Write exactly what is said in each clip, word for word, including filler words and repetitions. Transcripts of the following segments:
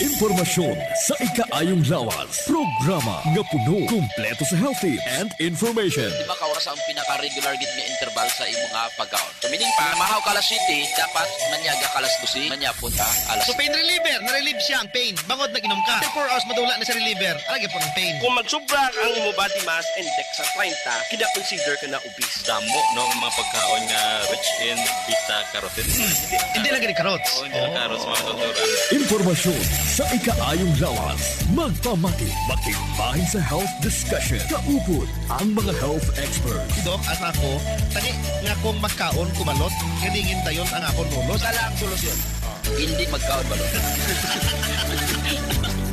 Impormasyon sa ikaayong lawas. Programa nga puno, kumpleto sa health tips and information. Di ba ka oras ang pinaka-regular gid nga interval sa imo nga pagkaon? So, meaning pa, mahaw ka alas siyete, dapat manyaga ka alas dose, manyapon ka alas So, pain reliever, na-relieve siya ang pain. Bangod nag-inom ka. After four hours, madula na sa reliever. Alagi po ang pain. Kung magsubra ang imo body mass index sa treinta, kina-consider ka na obese. Damo, no, ang mga pagkaon nga rich in beta carotene. Hindi lang gani carrots. Oo, hindi lang carrots, mga doktora. Impormasyon sa ikaayong lawas. Magpamati, makigbahin sa health discussion. Kaupod ang mga health experts. Si Doc, asa ako? Tani nga kung magkaon, kumalot, galingin dayon ang akon ulo. Sala ang solusyon. Hindi magkaon, balot.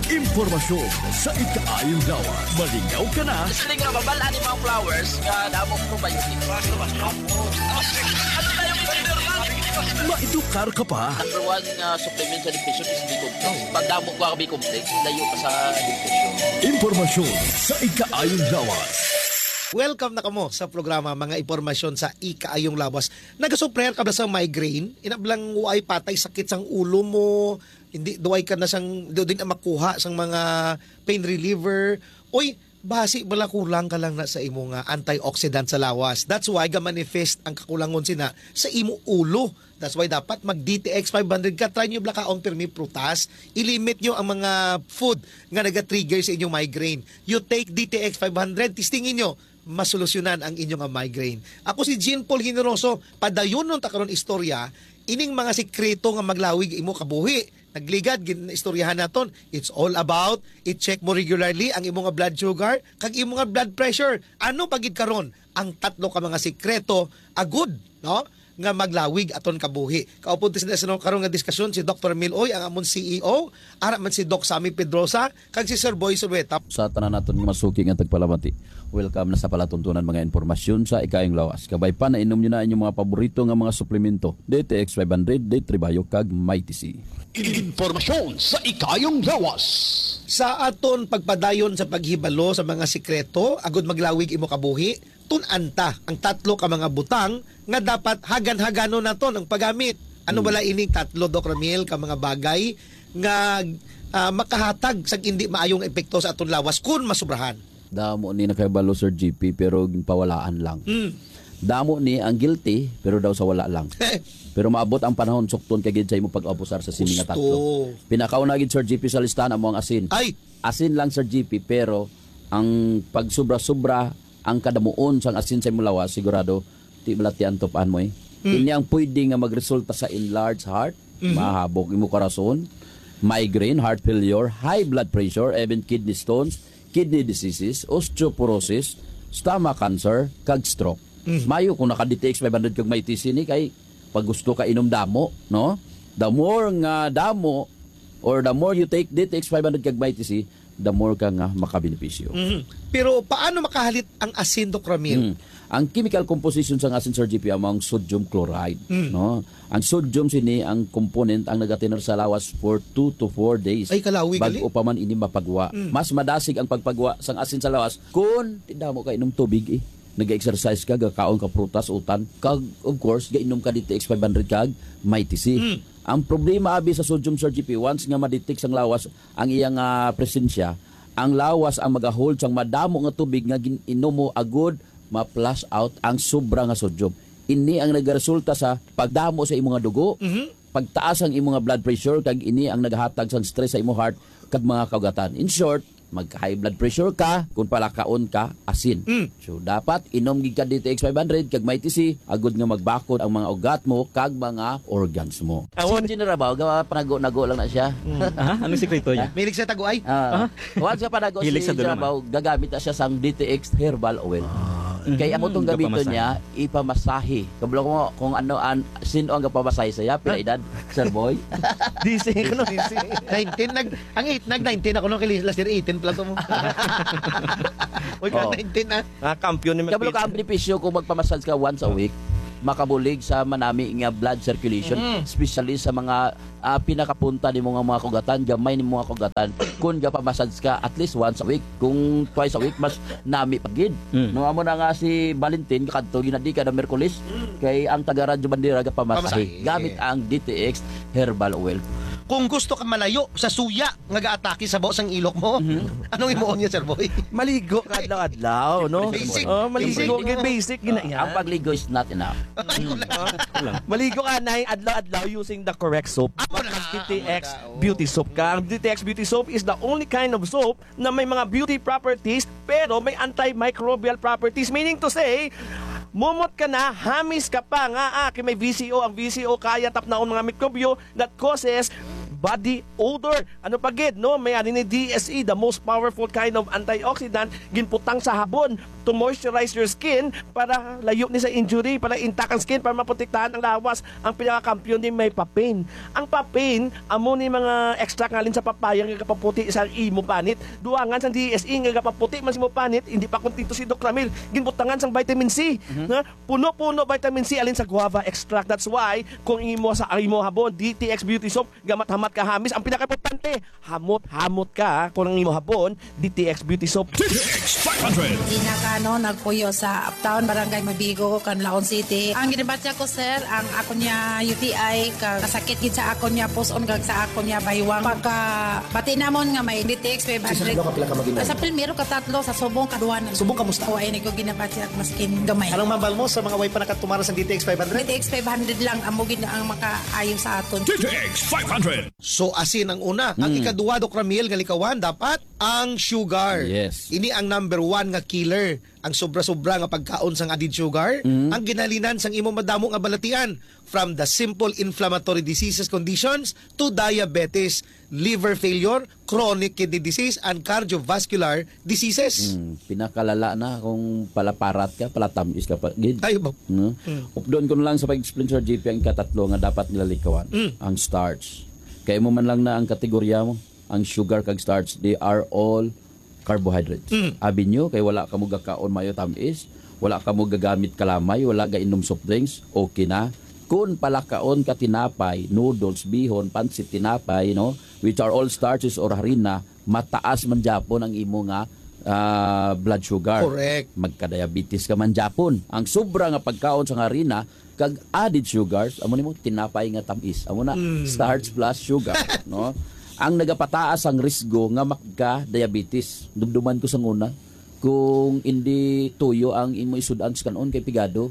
Impormasyon sa ikaayong lawas. Malingaw ka na. Gusto nga mabal-an ni mga flowers nga damo probiotic. Ano tayo, Mister Norman? Maedukar ka pa. Number one nga supplement sa depression is B complex. Pag damo ka B complex, layo ka sa depression. Impormasyon sa ikaayong lawas. Welcome na kamo sa programa Mga Impormasyon sa Ikaayong Lawas. Nagasuffer ka ba sa migraine? Inablang way patay sakit sang ulo mo, hindi duway ka na sang, di, di na makuha sang mga pain reliever. Oy, basi bala kulang ka lang na sa imo nga antioxidant sa lawas. That's why ga-manifest ang kakulangon sina sa imo ulo. That's why dapat mag D T X five hundred ka. Try nyo bala kaon pirmi prutas. I-limit nyo ang mga food nga naga-trigger sa inyong migraine. You take D T X five hundred, testingin nyo, masolusyonan ang inyo nga migraine. Ako si Jean Paul Generoso, padayonon ta karon istorya, ining mga sikreto nga maglawig imo kabuhi. Nagligad, gin-, istoryahan naton. It's all about, i-check mo regularly ang imo nga blood sugar, kag imo nga blood pressure. Ano pa gid karon ang tatlo ka mga sikreto, agud, no? Nga maglawig aton kabuhi. Kaupod ti sa karon nga diskusyon si Doktor Mil Uy, ang amon C E O, ara man si Doc Sammy Pedrosa, kag si Sir Boy Sulueta. Sa tanan naton nga masuki nga tagpalamati, welcome na sa palatuntunan mga impormasyon sa ikaayong lawas. Kabay pa, nainom nyo na inyong mga paborito nga mga suplemento, D T X five hundred, D three Bio, kag Mighty C. Impormasyon sa ikaayong lawas. Sa aton pagpadayon sa paghibalo sa mga sikreto, agud maglawig imo kabuhi, tun-an ta ang tatlo ka mga butang nga dapat hagan-haganon naton ang paggamit. Ano Hmm. bala ining tatlo, Doc Ramil, ka mga bagay nga, ah, makahatag sa hindi maayong epekto sa aton lawas kun masubrahan? Damo ni nakahibalo, Sir G P, pero ginpawalaan lang. Hmm. Damo ni ang guilty, pero daw sa wala lang. Pero maabot ang panahon, sukton ka gid sa imo pag-abusar sa sini nga Gusto. tatlo. Pinakauna gid, Sir G P, sa listahan amo ang asin. Ay! Asin lang, Sir G P, pero ang pagsubra-subra, ang kadamuon sang asin sa imong lawas, sigurado, di balatian to paan mo eh. Mm. Ini ang pwede nga magresulta sa enlarged heart, Mhm. mahabog imo karason, migraine, heart failure, high blood pressure, even kidney stones, kidney diseases, osteoporosis, stomach cancer, kag stroke. Mm. Mayo kung naka-D T X five hundred kag Mighty C ni kay pag gusto ka inom damo, no? The more nga damo, or the more you take D T X five hundred kag Mighty C, the more ka nga makabenepisyo. Mhm. Pero paano makahalit ang asin, Doc Ramil? Mm. Ang chemical composition sang asin, Sir G P, amo ang sodium chloride, Mm. no? Ang sodium sini ang component ang nagatinar sa lawas for two to four days. Ay, kalawi, gali. Bag-o pa man ini mapagwa. Mm. Mas madasig ang pagpagwa sang asin sa lawas kun damo ka inom tubig eh. Nag-exercise ka, gakaon ka prutas, utan, kag of course, gainom ka D T X five hundred kag Mighty C. Mm. Ang problema abi sa sodium, Sir G P, once nga ma-detect sang lawas ang iyang, ah, presensya, ang lawas ang magahold sang madamo nga tubig nga gin-inom mo agud ma-flush out ang sobra nga sodium. Ini ang nagaresulta sa pagdamo sa imo nga dugo, Mhm. pagtaas ang imo nga blood pressure, kag ini ang nagahatag sang stress sa imo heart kag mga kaugatan. In short, mag-high blood pressure ka kung palakaon ka asin. Mm. So, dapat inom gid ka D T X five hundred kag Mighty C agud nga magbakod ang mga ugat mo kag mga organs mo. Awon. Si General Bao, gawa panago-nago lang na siya. Mm. Ah, anong sikreto niya? Mahilig sa taguay? Ah. Ah. Once nga panago Hilig si sa General dulungan. Bao, gagamit na siya sang D T X herbal oil. Ah. Kay amo tong Mm, gamiton gapamasahe. niya, ipamasahe. Kabalo mo kung ano an, sino ang gapamasahe sa iya, pila Ah. edad, Sir Boy? D C, ano? D C. Nineteen, nag-, ang eight, nag-nineteen ako, no? Kay last year, eighteen pala to mo. Uy, ka Oh. nineteen, ah. Ah, kampiyon ni Kabalo ka, ang Magpipis. benepisyo kung magpamassage ka once a week, makabulig sa manami nga blood circulation, Mm. especially sa mga, ah, pinakapunta nimo nga mga kugatan, gamay nimo nga kugatan. Kung gapamassage ka at least once a week, kung twice a week, mas nami pa gid. Mm. No, amo na nga si Valentin, kadto ginadi kada Miyerkules, Mm. kay ang taga Radyo Bandera gapamasahe Pamasahe. gamit ang D T X Herbal Oil. Kung gusto ka malayo sa suya nga gaatake sa baw sang ilok mo, Mhm. anong imuon niya, Sir Boy? Maligo ka adlaw-adlaw, no? Basic. Oh, maligo, Basic. Gid basic, gid na Ah, yan. ang pagligo is not enough. Ay, wala. Ah, wala. Maligo ka, Nay, adlaw-adlaw using the correct soap. Amo na. Mag D T X Amo na, oo. Beauty Soap ka. Ang D T X Beauty Soap is the only kind of soap na may mga beauty properties, pero may antimicrobial properties. Meaning to say, mumot ka na, hamis ka pa nga, ah, kay may V C O. Ang V C O kaya tapnaon mga mikrobyo that causes body odor. Ano pa gid, no? May ani ni D S E, the most powerful kind of antioxidant, ginputang sa habon to moisturize your skin para layo ni sa injury, para intact ang skin, para maprotektahan ang lawas. Ang pinakakampiyon ni may papain. Ang papain, amo ni mga extract nga halin sa papaya nga gapaputi sa imo panit. Duangan sang D S E nga gapaputi man sa imo panit, hindi pa kontento si Doc Ramil. Ginbutangan sang vitamin C. Mhm. Na puno-puno vitamin C alin sa guava extract. That's why kung imo sa imo habon, D T X Beauty Soap, gamat-hamat ka hamis. Ang pinakaimportante, hamot-hamot ka, ha, kung ang imo habon, D T X Beauty Soap. D T X five hundred. Ina ka, no, nagpuyo sa Uptown, Barangay Mabigo, Canlaon City. Ang ginabatya ko, sir, ang ako niya U T I, ka kasakit gid sa ako niya puson, kag sa ako niya baywang. Pagka bati namon nga may D T X five hundred. Sa pila ka mag-inom? Sa primero ka tatlo, sa subong ka duha na. Subong kamusta? O, ay, nagko ginabatya, maskin gamay. Anong mambal mo sa mga way pa nakatumara sa D T X five hundred? D T X five hundred lang, amo gid ang makaayo sa aton. D T X five hundred. So, asin ang una. Ang Mm. ikaduha, Doc Ramil, nga likawan, dapat ang sugar. Yes. Ini ang number one nga killer. Ang sobra-sobra nga pagkaon sang added sugar, Mm. ang ginhalinan sang imong madamo nga balatian, from the simple inflammatory diseases conditions to diabetes, liver failure, chronic kidney disease, and cardiovascular diseases. Mm, pinakalala na kung palaparat ka, palatamis ka pa gid. Ay, ba? No? Mm. Updon ko na lang sa pag-explain, Sir J P, ang ikatatlo nga dapat nila likawan, Mm. ang starch. Kay mo man lang na ang kategorya mo, ang sugar kag starch, they are all carbohydrates. Mm. Abi nyo, kay wala ka mo gakaon mayo tamis, wala ka mo gagamit kalamay, wala gainom soft drinks, okay na. Kung palakaon ka tinapay, noodles, bihon, pansit tinapay, no, which are all starches or harina, mataas man gyapon ang imo nga, ah, blood sugar. Correct. Magka-diabetes ka man gyapon. Ang sobra nga pagkaon sa harina kag added sugars, amo nimo tinapay nga tamis. Amo na, Mm. starch plus sugar, no? Ang nagapataas ang risgo nga magka-diabetes. Dumduman ko sa una, kung hindi tuyo ang imo isud-an sa kanon kay pigado,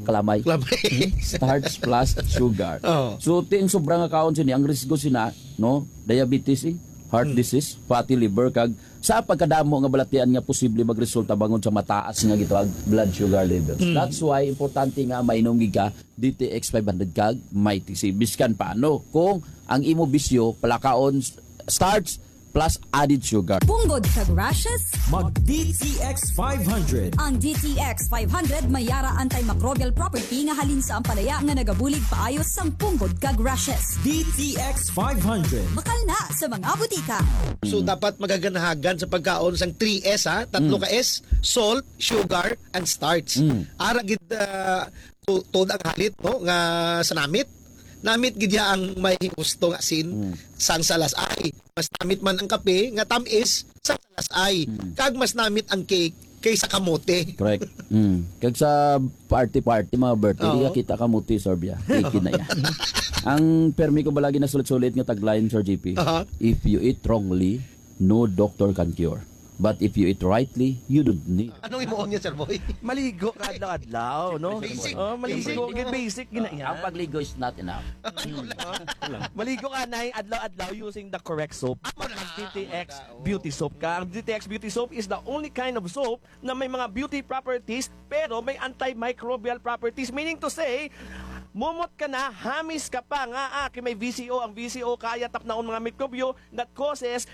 kalamay. Kalamay. Starch plus sugar. Oh. So, ting sobra nga kaon sini, ang risgo sina, no? Diabetes, eh, heart Hmm. disease, fatty liver, kag sa pagkadamo nga balatian nga posible magresulta bangod sa mataas nga gitawag blood sugar levels. Hmm. That's why importante nga mainom gid ka D T X five hundred kag Mighty C. Biskan paano, kung ang imo bisyo, palakaon s-, starch, plus added sugar. Punggod kag rashes? Mag D T X five hundred. Ang D T X five hundred may yara antimicrobial property nga halin sa ampalaya nga nagabulig paayo sang punggod kag rashes. D T X five hundred. Bakal na sa mga butika. So, Mm. dapat magaganahagan sa pagkaon sang three S, ha? Tatlo Mm. ka S, salt, sugar, and starch. Mm. Ara gid, ah, tu-, tuod ang halit, no, nga sa namit. Namit gid ya ang may gusto nga sin Mm. sang salasay. Mas namit man ang kape nga tamis sang salasay. Mm. Kag mas namit ang cake kaysa kamote. Correct. Mm. Kag sa party-party, mga birthday, Oo. di ka kita kamote, Sir Bia. Cake na yan. Ang permi ko bala ginasulit-sulit nga tagline, Sir J P, Aha. "If you eat wrongly, no doctor can cure. But if you eat rightly, you don't need." Anong imuon niya, Sir Boy? Maligo ka adlaw-adlaw, no? Basic. Oh, maligo, Basic. gid basic, gid na yan. Ang pagligo is not enough. Wala. Maligo ka, Nay, adlaw-adlaw using the correct soap. Amo na. Ang D T X Amo na, oo. Beauty Soap ka. Ang D T X Beauty Soap is the only kind of soap na may mga beauty properties, pero may antimicrobial properties. Meaning to say, mumot ka na, hamis ka pa nga, ah, kay may V C O. Ang V C O kaya tapnaon mga mikrobyo that causes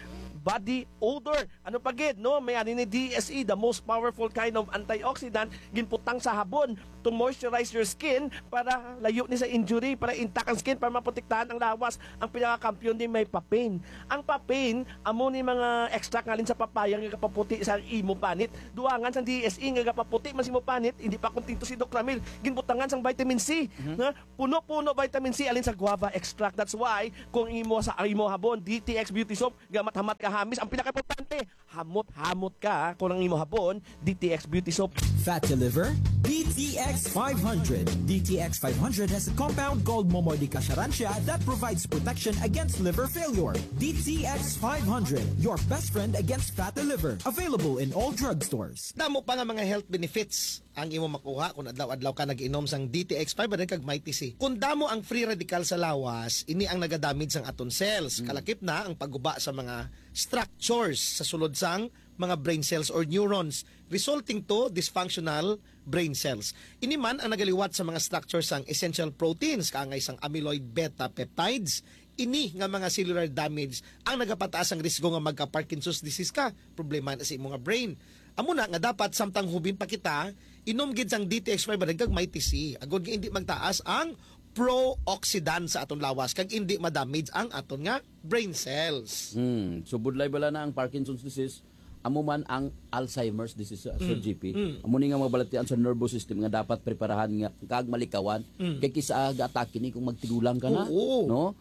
body odor. Ano pa gid, no? May ani ni D S E, the most powerful kind of antioxidant, ginputang sa habon to moisturize your skin para layo ni sa injury, para intact ang skin, para maprotektahan ang lawas. Ang pinakakampiyon ni may papain. Ang papain, amo ni mga extract nga halin sa papaya nga gapaputi sa imo panit. Duangan sang D S E nga gapaputi man sa imo panit, hindi pa kontento si Doc Ramil. Ginbutangan sang vitamin C, Mhm. nga puno-puno vitamin C alin sa guava extract. That's why kung imo sa imo habon, D T X Beauty Soap, gamat-hamat ka hamis. Ang pinakaimportante, hamot-hamot ka, ha, kung ang imo habon, D T X Beauty Soap. Fatty liver? D T X X five hundred. D T X five hundred has a compound called Momordica Charantia that provides protection against liver failure. D T X five hundred, your best friend against fatty liver. Available in all drugstores. Damo pa nga mga health benefits ang imo makuha kung adlaw-adlaw ka nag-inom sang D T X five hundred kag Mighty C. Kung damo ang free radical sa lawas, ini ang nagadamage sang aton cells. Kalakip na ang pagguba sa mga structures sa sulod sang mga brain cells or neurons, resulting to dysfunctional brain cells. Ini man ang nagaliwat sa mga structure sang essential proteins, kaangay sang amyloid beta peptides. Ini nga mga cellular damage ang nagapataas ang risgo nga magka-Parkinson's disease ka. Problema na sa imo nga brain. Amo na nga dapat samtang hubin pa kita, inom gid sang D T X five hundred kag Mighty C. Agod nga hindi magtaas ang pro-oxidant sa aton lawas kag hindi ma-damage ang aton nga brain cells. Hmm. So, budlay bala na ang Parkinson's disease, amo man ang Alzheimer's disease, uh, Sir G P. Amo ni nga mabalatian sa nervous system nga dapat preparahan nga kag malikawan. Kay kisa ga-atake ni kung magtigulang ka na, Oo. no?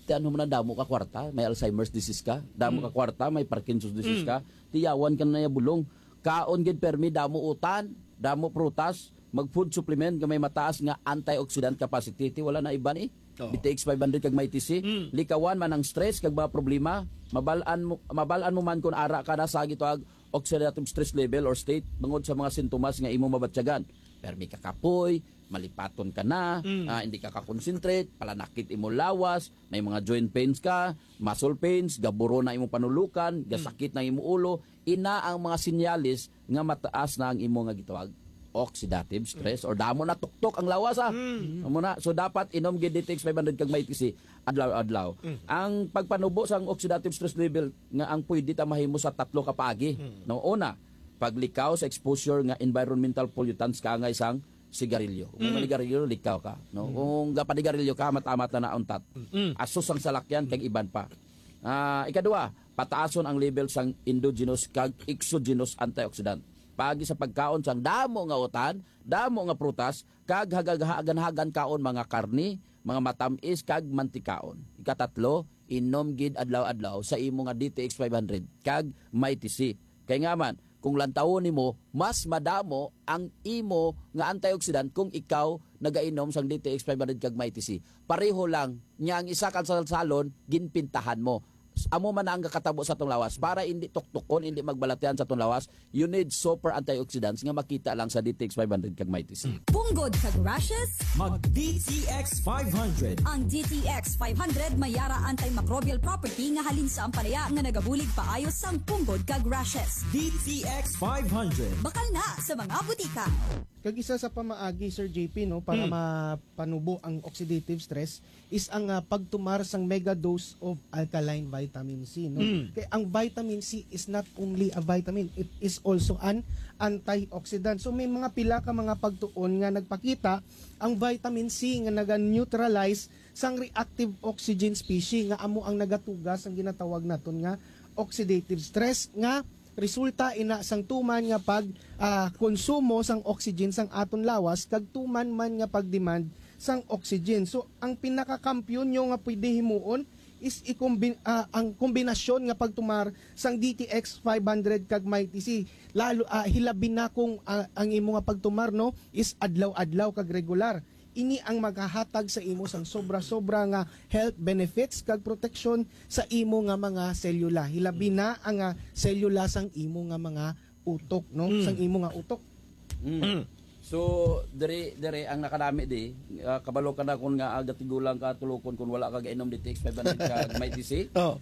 Ti ano man ang damo ka kwarta, may Alzheimer's disease ka, damo ka kwarta, may Parkinson's disease ka, tiyawan ka na ya bulong. Kaon gid permi damo utan, damo prutas, mag food supplement nga may mataas nga antioxidant capacity. Ti wala na iban eh. Oo. D T X five hundred kag Mighty C. Likawan man ang stress kag mga problema. Mabal-an mo, mabal-an mo man kung ara ka na sa gitawag oxidative stress level or state bangod sa mga sintomas nga imo mabatyagan. Permi ka kapoy, malipaton ka na, ah, hindi ka ka-concentrate, palanakit imo lawas, may mga joint pains ka, muscle pains, gaburo na imo panulukan, gasakit na imo ulo, ina ang mga sinyalis nga mataas na ang imo nga gitawag oxidative stress or damo na tuktok ang lawas, ah. Amo na. So dapat inom gid D T X five hundred kag Mighty C adlaw-adlaw. Ang pagpanubo sang oxidative stress level nga ang pwede ta mahimo sa tatlo ka paagi. No, una, paglikaw sa exposure nga environmental pollutants kaangay sang sigarilyo. Kung manigarilyo, likaw ka. No? Kung gapanigarilyo ka, matamat na nauntat. Asos ang salakyan, kag iban pa. Ah, ikadua, pataason ang level sang endogenous kag exogenous antioxidant. Paagi sa pagkaon sang damo nga utan, damo nga prutas, kag hagaghagan-hagan kaon mga karni, mga matamis, kag mantikaon. Ikatatlo, inom gid adlaw-adlaw sa imo nga D T X five hundred kag Mighty C. Kay nga man, kung lantawon nimo, mas madamo ang imo nga antioxidant kung ikaw nagainom sang D T X five hundred kag Mighty C. Pareho lang, nya ang isa ka salsalon, ginpintahan mo. Amo man na ang kakatabo sa atong lawas para hindi tuktukon, hindi magbalatian sa atong lawas. You need super antioxidants nga makita lang sa D T X five hundred kag Mighty C. Punggod kag rashes? Mag D T X five hundred. Ang D T X five hundred may ara antimicrobial property nga halin sa ampalaya nga nagabulig paayo sang punggod kag rashes. D T X five hundred. Bakal na sa mga butika. Kag isa sa pamaagi, Sir J P, no, para mapanubo ang oxidative stress is ang, ah, pagtumar sang mega dose of alkaline vitamin C, no? Kay ang vitamin C is not only a vitamin, it is also an antioxidant. So may mga pila ka mga pagtuon nga nagpakita ang vitamin C nga naga-neutralize sang reactive oxygen species nga amo ang nagatuga sang ginatawag naton nga oxidative stress nga resulta ina sang tuman nga pag, ah, konsumo sang oxygen sang aton lawas kag tuman man nga pag-demand sang oxygen. So ang pinakakampiyon nyo nga pwede himuon is ikombin-, ah, ang kombinasyon nga pagtumar sang D T X five hundred kag Mighty C. Lalo, ah, hilabi na kung, ah, ang imo nga pagtumar, no, is adlaw-adlaw kag regular. Ini ang maghahatag sa imo sang sobra-sobra nga health benefits kag proteksyon sa imo nga mga selula. Hilabi na ang, ah, selula sang imo nga mga utok, no? Sang imo nga utok. Mm. So, dire dire ang nakanami di, ah, kabalo ka na kun nga, ah, gatigulang ka tulukon kun wala ka gainom D T X five hundred ka Mighty C. Oh.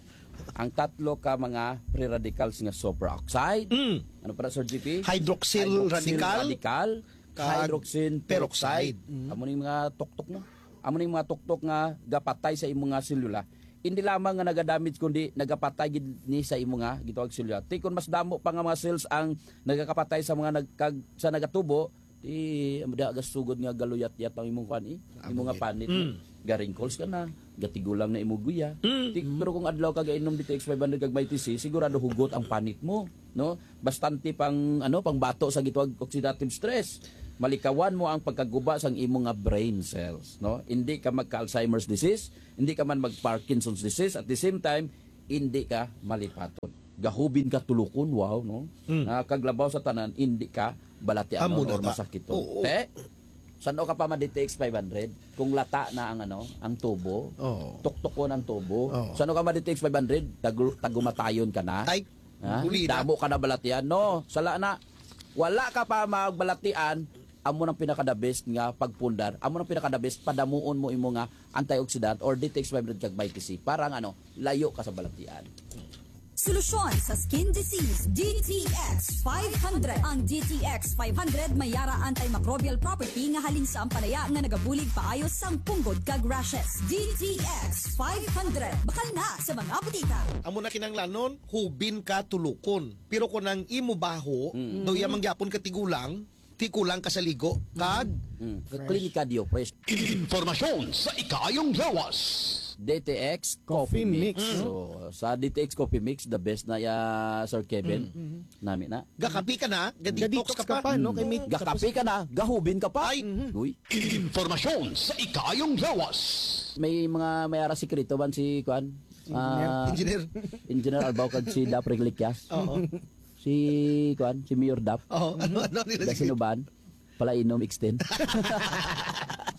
Ang tatlo ka mga free radicals nga superoxide. Mm. Ano para, Sir G P? Hydroxyl radical. Radical, Kag hydroxin peroxide. peroxide. Amo ning mga tuktok mo. Amo ning mga tuktok nga gapatay sa imong nga selula. Hindi lamang nga nagadamage kundi nagapatay gid ni sa imo nga gitawag selula. Ti kun mas damo pa nga mga cells ang nagakapatay sa mga nagkag sa nagatubo, ti amo da gasugod nga galuyat-yat ang imong kuan eh. Imo nga panit mo. Ga-wrinkles ka na, gatigulang na imo guya. Ti, pero kung adlaw ka gainom D T X five hundred kag Mighty C, sigurado hugot ang panit mo, no? Bastante pang ano, pang bato sa gitawag oxidative stress. Malikawan mo ang pagkaguba sang imo nga brain cells, no? Hindi ka magka-Alzheimer's disease, hindi ka man mag-Parkinson's disease, at the same time, hindi ka malipaton. Gahubin ka tulukon, wow, no? Nga kaglabaw sa tanan, hindi ka balatianon Amo na or ta. Masakiton. Oo. Te? San-o ka pa ma-D T X five hundred? Kung lata na ang, ano, ang tubo, Oo. tuktukon ang tubo. Oo. San-o ka ma-D T X five hundred? Tagu-, tagumatayon ka na. Ay, Ha? Uli na. Damo ka na balatian. No, sala na. Wala ka pa magbalatian, amo nang pinaka-the best nga pagpundar. Amo nang pinaka-the best, padamuon mo imo nga antioxidant or D T X five hundred kag Mighty C para nga, ano, layo ka sa balatian. Solusyon sa skin disease, D T X five hundred. Ang D T X five hundred may yara antimicrobial property nga halin sa ampalaya nga nagabulig paayo sang punggod kag rashes. D T X five hundred. Bakal na sa mga butika. Amo na kinahanglanon, hubin ka tulukon. Pero kung ang imo baho, Mm. daw iya mangyapon ka tigulang, tigulang ka sa ligo, kag Mm. Fresh. Clean ka, Dio, fresh. Informasyon sa ikaayong lawas. D T X Coffee Coffee Mix. Mix. So, sa D T X Coffee Mix, the best na ya, Sir Kevin. Mm, mm. Nami na. Gakapi ka na, ga-detox Ga-detox ka ka pa. pa, no? Kay may Gakapi ka na, gahubin ka pa. Ay. Mhm. Uy. Informasyon sa ikaayong lawas. May mga, may ara sikreto man si, kuan? Engineer. Ah, Engineer. Engineer Albao kag si Dap Regliquias. Oo. Si, kuan, si Mayor Dap. Oo. Ano, ano nila Dap sige? Sinuban. Pala inom extend.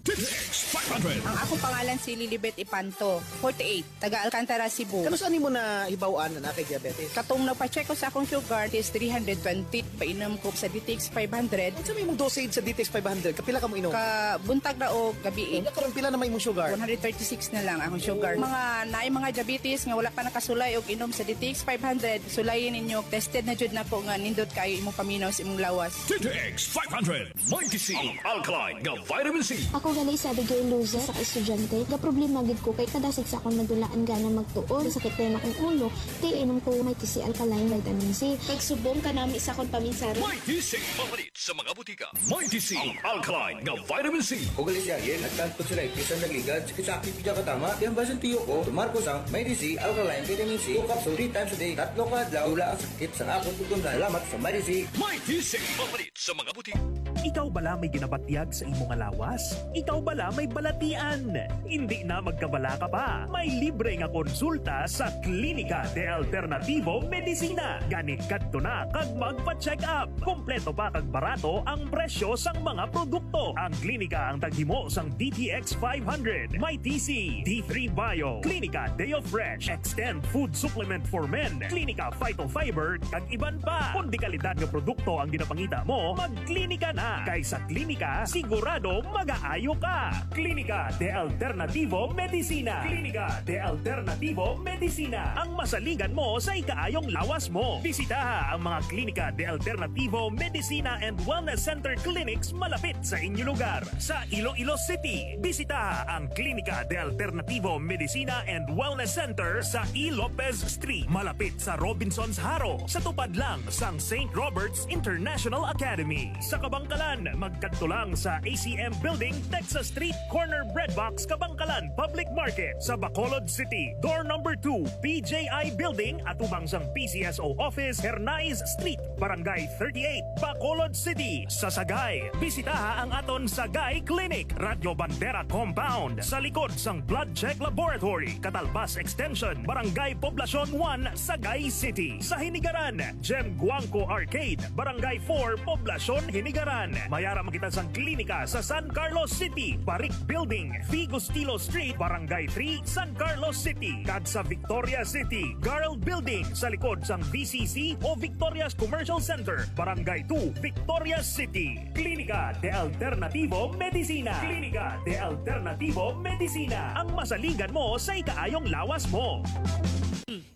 T T X five hundred. Ang akong pangalan si Lilibet Ipanto, forty-eight, taga Alcantara, Cebu. Kano saan mo na hibaw-an na kay diabetes? Katong nagpa-check ko sa akong sugar, is three hundred twenty. Painom ko sa D T X five hundred. Unsa may imong dosage sa D T X five hundred? Kapila ka mo inom? Ka buntag na o gabi. Unya karon, pila na may imong sugar? One hundred thirty-six na lang ang sugar. Mga naay mga diabetes nga wala pa nakasulay og inom sa D T X five hundred, sulayin ninyo. Tested na jud nako nga nindot kaayo imong paminaw sa imong lawas. T T X five hundred, Mighty C, ang alkaline nga vitamin C. Ako gali si Abigail Luzon, sa ka-estudyante. Gaproblema gid ko kay kadasig sa akong nadulaan gana magtuon. Sakit kay akong ulo, kay inom ko Mighty C alkaline vitamin C. Kag subong kanami sa akong paminsaron. Mighty C, mapalit sa mga butika. Mighty C, ang alkaline nga vitamin C. Kung gali siya, yen, nagtagpot sila, ipisan nagligad, sakit sa aking pija katama, yan ba siyang tiyo ko? Tumar ko sang Mighty C, alkaline vitamin C, two capsule, three times a day, tatlo ka adlaw, wala ang sakit sa akong pagtunda. Salamat sa Mighty C. Mighty C, mapalit sa mga butika. Ikaw bala may ginabatyag sa imo nga lawas? Ikaw bala may balatian? Hindi na magkabalaka pa. May libre nga konsulta sa Klinika de Alternativo Medicina. Gani kadto na kag magpa-check up. Kompleto pa kag barato ang presyo sang mga produkto. Ang klinika ang taghimo sang D T X five hundred, Mighty C, D three Bio, Klinika Deo Fresh, Extend Food Supplement for Men, Klinika Phytofiber, kag iban pa. Kon dekalidad nga produkto ang ginapangita mo, magklinika na. Kay sa klinika, sigurado magaayo ka. Klinika de Alternativo Medicina. Klinika de Alternativo Medicina. Ang masaligan mo sa ikaayong lawas mo. Bisitaha ang mga Klinika de Alternativo Medicina and Wellness Center clinics malapit sa inyo lugar. Sa Iloilo City, bisitaha ang Klinika de Alternativo Medicina and Wellness Center sa E. Lopez Street, malapit sa Robinsons Jaro, sa tupad lang sang Saint Robert's International Academy. Sa Kabangkalan, magkadto lang sa A C M Building, Texas Street, corner Bread Box, Kabangkalan Public Market. Sa Bacolod City, door number two, P J I Building, atubang sang P C S O Office, Hernais Street, Barangay thirty-eight, Bacolod City. Sa Sagay, bisitaha ang aton Sagay Clinic, Radyo Bandera Compound, sa likod sang Blood Check Laboratory, Catalbas Extension, Barangay Poblacion one, Sagay City. Sa Hinigaran, Jem Guangco Arcade, Barangay four, Poblacion, Hinigaran. May ara man kita sang klinika sa San Carlos City, Barik Building, Figo Stilo Street, Barangay three, San Carlos City, kag sa Victoria City, Girl Building, sa likod sang V C C o Victoria's Commercial Center, Barangay two, Victoria City. Klinika de Alternativo Medicina. Klinika de Alternativo Medicina. Ang masaligan mo sa ikaayong lawas mo.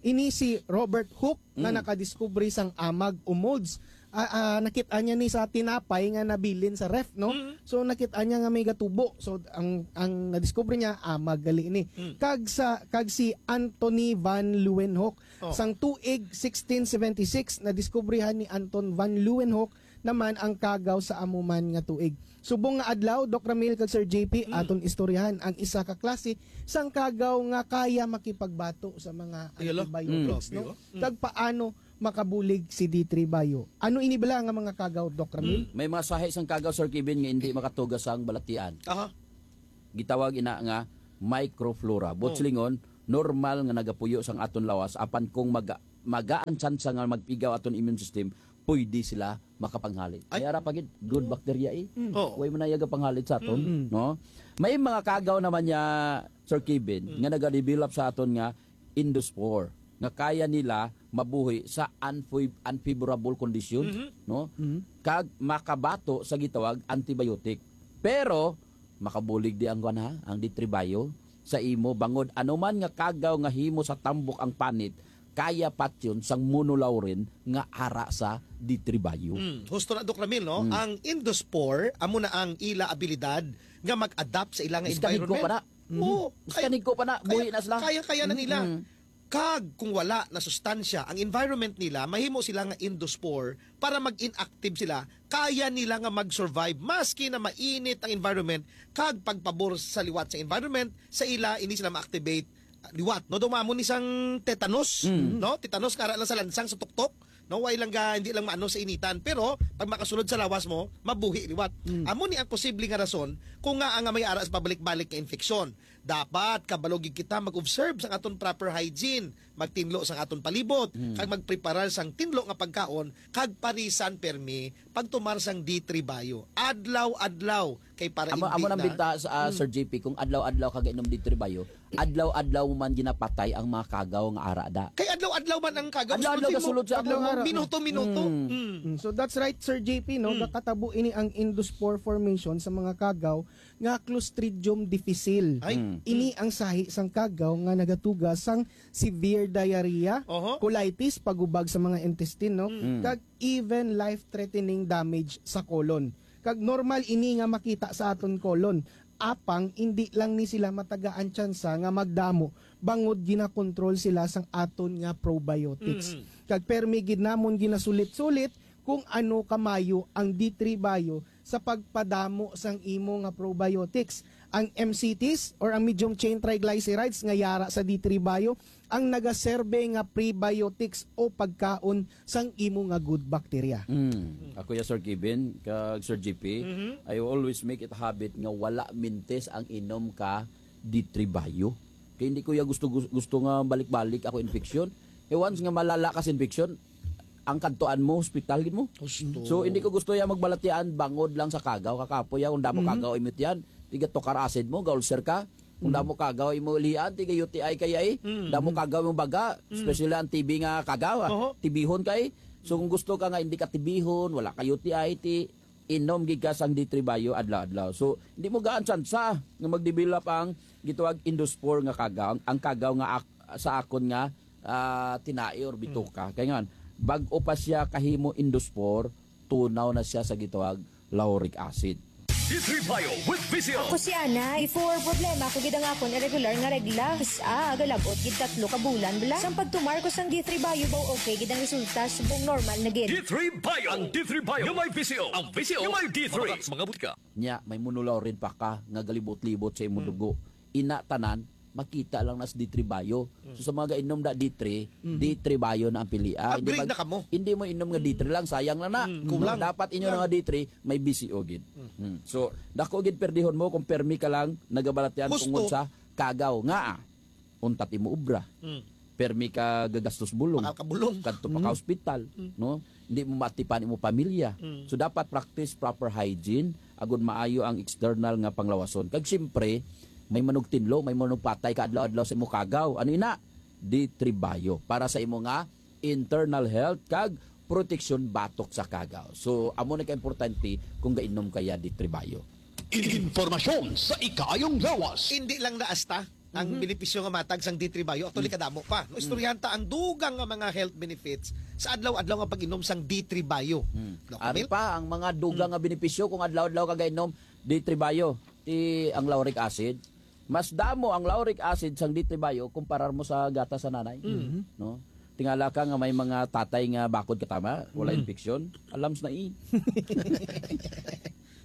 Ini si Robert Hooke nga Mm. nakadiskubre sang amag o molds. Ah, ah, nakit-an niya ni sa tinapay nga nabilin sa ref, no? Mm. So, nakit-an niya nga may gatubo. So, ang, ang nadiskubre niya, amag gali ni. Mm. Kag sa, kag si Anthony Van Leeuwenhoek, Oh. sang tuig sixteen seventy-six, nadiskubrihan ni Anton Van Leeuwenhoek naman ang kagaw sa amo man nga tuig. Subong nga adlaw, Doc Ramil kag Sir J P, Mm. aton istoryahan ang isa ka klase sang kagaw nga kaya makipagbato sa mga Yun lang. Antibiotics, Mm. no? Grabe, oh. Mm. Kag paano makabulig si D three Bio? Ano ini bala nga mga kagaw, Doc Ramil? Mm. May mga sahi sang kagaw, Sir Kevin, nga hindi makatuga sang balatian. Aha. Gitawag ina nga microflora. Buot Oh. silingon, normal nga nagapuyo sang aton lawas, apan kung maga-, magaan tsansa nga magpigaw aton immune system, pwede sila makapanghalit. Ay. May ara pa gid, good bacteria eh. Mm. Oo. Way man na iya gapanghalit sa aton, Mm. no? May mga kagaw naman niya, Sir Kevin, Mm. nga nagadevelop sa aton nga endospore, nga kaya nila mabuhi sa unfav-, unfavorable condition, Mhm. no? Mhm. Kag makabato sa gitawag antibiotic. Pero makabulig di ang kuwan, ha, ang D three Bio sa imo, bangod anuman nga kagaw nga himo sa tambok ang panit, kaya patyon sang monolaurin nga ara sa D three Bio. Mm, husto na, Doc Ramil, no? Mm. Ang endospore, amo na ang ila abilidad nga mag-adapt sa ila nga Iskanigko environment. pa na. Mhm. Oo, Iskanigko pa na, buhi na sila. Kaya-kaya na nila. Mm. Kag kung wala na sustansya ang environment nila, mahimo sila nga endospore para mag-inactive sila. Kaya nila nga mag-survive maski na mainit ang environment, kag pagpabor sa liwat sa environment, sa ila ini sila ma-activate, ah, liwat, no? Dumamo ni sang tetanus, Mm. no? Tetanus nga ara lang sa lansang, sa tuktok, no? Way lang ga, hindi lang maano sa initan, pero pag makasulod sa lawas mo, mabuhi liwat. Mm. Amo ni ang posible nga rason kung nga nga may ara sa pabalik-balik nga infeksyon. Dapat kabalo gid kita mag-observe sang aton proper hygiene, magtinlo sang aton palibot, Mm. kag magpreparar sang tinlo nga pagkaon, kag parisan permi pagtumar sang D three Bio adlaw-adlaw, kay para Amo, hindi amo nang na binta sa, ah, Mm. Sir J P, kung adlaw-adlaw ka gainom D three Bio, adlaw-adlaw man ginapatay ang mga kagaw nga ara da. Kay adlaw-adlaw man ang kagaw, Adlaw-adlaw sulod mo. Gasulod sa Adlaw akong ara. Minuto-minuto. Mm. Mm. Mm, so that's right, Sir J P, no? Mm. Gakatabo ini ang endospore formation sa mga kagaw nga Clostridium difficile. Ay. Mm. Ini ang sahi sang kagaw nga nagatuga sang severe diarrhea, Oho. colitis, pagubag sa mga intestine, no? Mm. Kag even life-threatening damage sa colon. Kag normal ini nga makita sa aton colon. Apang indi lang ni sila matagaan tsansa nga magdamo bangod ginakontrol sila sang aton nga probiotics. Mhm. Kag permi gid namon ginasulit-sulit kung ano kamayo ang D three Bio sa pagpadamo sang imo nga probiotics. Ang M C Ts or ang medium chain triglycerides nga yara sa D three Bio ang nagaserbe nga prebiotics o pagkaon sang imo nga good bacteria. Mm. Ako ya, Sir Kevin, kag Sir G P, Mhm. I always make it a habit nga wala mintis ang inom ka D three Bio. Kay hindi ko ya gusto, gus-, gusto nga balik-balik ako infection. Kay once nga malala ka sa infection, ang kadtuan mo, hospital gid mo. Husto. So, hindi ko gusto ya magbalatian bangod lang sa kagaw. Kakapoy ya, kung damo Mhm. kagaw imot yan, tiga tukar acid mo, ga-ulcer ka. Kung Mm. damo kagaw imo lian, tiga U T I kaya eh. Mm. Damo kagaw imong baga, Mm. especially ang T B nga kagaw, ah. Oho. Tibihon kay. So, kung gusto ka nga hindi ka tibihon, wala ka U T I, ti inom gid ka sang D three Bio adlaw-adlaw. So, hindi mo gaan tsansa nga magdevelop ang gitawag endospore nga kagaw, ang, ang kagaw nga ak-, sa akon nga, ah, tinai or bituka. Mm. Kay nga, bag-o pa siya kahimo endospore, tunaw na siya sa gitawag lauric acid. D three Bio with V C O. Ako si Ana. Before, problema ko gid ang akon irregular nga regla. Sa aga, lagot gid tatlo ka bulan bala. Sang pagtumar ko sang D three Bio, baw okay gid ang resulta, subong normal na gid. D three Bio. Ang D three Bio nga may V C O. Ang V C O nga may D three. Mga butika. Nya, may monolaurin pa ka nga galibot-libot sa imong Hmm. dugo. Ina tanan, makita lang na sa D three Bio. Mm. So, sa mga gainom na D three, Mhm. D three Bio na ang pilian. Hindi Upgrade mag-, na kamo. hindi mo inom nga Mm. D three lang, sayang lang na. Mm, No, kulang. dapat inyo Kulang. na nga D three, may B C O gid. Mm. Mm. So, dako gid perdihon mo kung permi ka lang nagabalatian Husto. tungod sa kagaw. Nga, ah, untat imo obra. Mm. Permi ka gagastos bulong. Bakal ka bulong. Kadto pa ka Mm. hospital, Mm. no? Hindi mo matipan imo pamilya. Mm. So, dapat practice proper hygiene, agud maayo ang external nga panglawason. Kag siyempre, may manugtinlo, may manugpatay ka adlaw-adlaw sa imo kagaw. Ano ina? D three Bio. Para sa imo nga internal health kag proteksyon batok sa kagaw. So, amo na ka importante kung gainom kaya D three Bio. Informasyon sa ikaayong lawas. Hindi lang na asta ang Mhm. benepisyo nga matag sang D three Bio, actually, Mm. kadamo pa. No, Mm. istoryahan ta ang dugang nga mga health benefits sa adlaw-adlaw nga pag-inom sang D three Bio. Mm. No, Ari Camille? pa ang mga dugang Mm. nga benepisyo kung adlaw-adlaw ka gainom D three Bio. Ti ang lauric acid, mas damo ang lauric acid sang D three Bio kumparar mo sa gatas sa nanay. Mm. No? Tingala ka nga may mga tatay nga bakod katama, wala Mm. infeksyon. Alams na eh.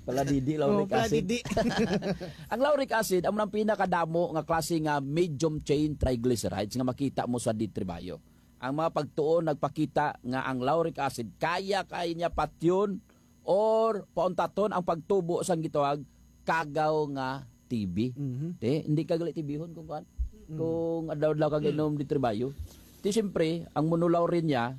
Paladidi, Oh, lauric acid. paladidi. Ang lauric acid, amo nang pinakadamo nga klase nga medium chain triglycerides nga makita mo sa D three Bio. Ang mga pagtuon nagpakita nga ang lauric acid kaya kay niya patyon or pauntaton ang pagtubo sang gitawag kagaw nga T B. Mhm. Te, hindi ka gali T B-hon kung kuan. Mm. Kung adlaw-adlaw ka Mm. gainom D three Bio. Ti siyempre, ang monolaurin niya,